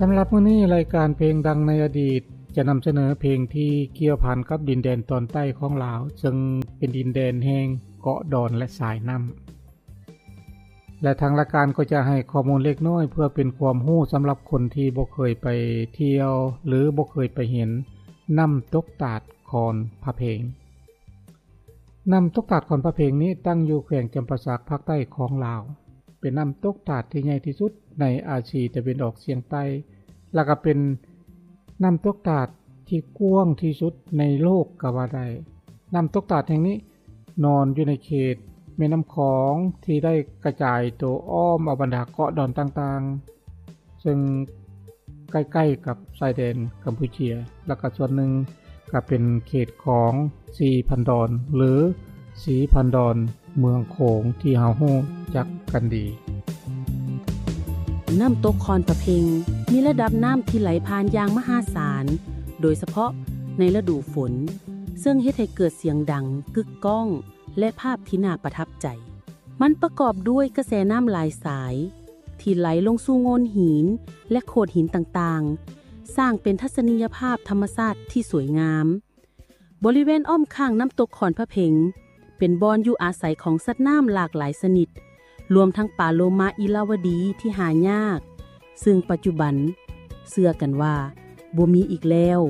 ສຳລັບມື້ນີ້ ລາຍການເພງດັງໃນອະດີດ ຈະນຳສະເໜີເພງທີ່ກ່ຽວພັນກັບດິນແດນຕອນໃຕ້ຂອງລາວ ເຊິ່ງເປັນດິນແດນແຫ່ງເກາະດອນ ແລະ ສາຍນ້ຳ ແລະ ທາງລາຍການກໍຈະໃຫ້ຂໍ້ມູນເລັກນ້ອຍ ເພື່ອເປັນຄວາມຮູ້ສຳລັບຄົນທີ່ບໍ່ເຄີຍໄປທ່ຽວ ຫຼື ບໍ່ເຄີຍໄປເຫັນນ້ຳຕົກຕາດຄອນພະເພັງ. ນ້ຳຕົກຕາດຄອນພະເພັງນີ້ ຕັ້ງຢູ່ແຂວງຈຳປາສັກ ພາກໃຕ້ຂອງລາວ, ເປັນນ້ຳຕົກຕາດທີ່ໃຫຍ່ທີ່ສຸດໃນອາຊີຕາເວັນອອກສຽງໃຕ້ ແລະ ກໍເປັນນ້ຳຕົກຕາດທີ່ກວ້າງທີ່ສຸດໃນໂລກກໍວ່າໄດ້. ນ້ຳຕົກຕາດແຫ່ງນີ້ນອນຢູ່ໃນເຂດແມ່ນ້ຳຂອງ ທີ່ໄດ້ກະຈາຍໂຕອ້ອມເອົາບັນດາເກາະດອນຕ່າງໆ ເຊິ່ງໃກ້ໆກັບຊາຍແດນກຳປູເຈຍ ແລະ ກໍສ່ວນໜຶ່ງກໍເປັນເຂດຂອງສີ່ພັນດອນ ຫຼື ສີ່ພັນດອນເມືອງໂຂງ ທີ່ເຮົາຮູ້ຈັກກັນດີ. ນ້ຳຕົກຄອນພະເພັງມີລະດັບນ້ຳທີ່ໄຫຼຜ່ານຢ່າງມະຫາສານ, ໂດຍສະເພາະໃນລະດູຝົນ, ເຊິ່ງເຮັດໃຫ້ເກີດສຽງດັງ, ກຶກກ້ອງ ແລະ ພາບທີ່ໜ້າປະທັບໃຈ. ມັນປະກອບດ້ວຍກະແສນ້ຳຫຼາຍສາຍ ທີ່ໄຫຼລົງສູ່ໂງ່ນຫີນ ແລະ ໂຂດຫີນຕ່າງໆ, ສ້າງເປັນທັດສະນີຍະພາບທຳມະຊາດທີ່ສວຍງາມ. ບໍລິເວນອ້ອມຂ້າງນ້ຳຕົກຄອນພະເພັງ ເປັນບ່ອນຢູ່ອາໄສຂອງສັດນ້ຳຫຼາກຫຼາຍຊະນິດ, ລວມທັງປາໂລມາອີລາວະດີທີ່ຫາຍາກ, ເຊິ່ງປັດຈຸບັນເຊື່ອກັນວ່າບໍ່ມີອີກແລ້ວ.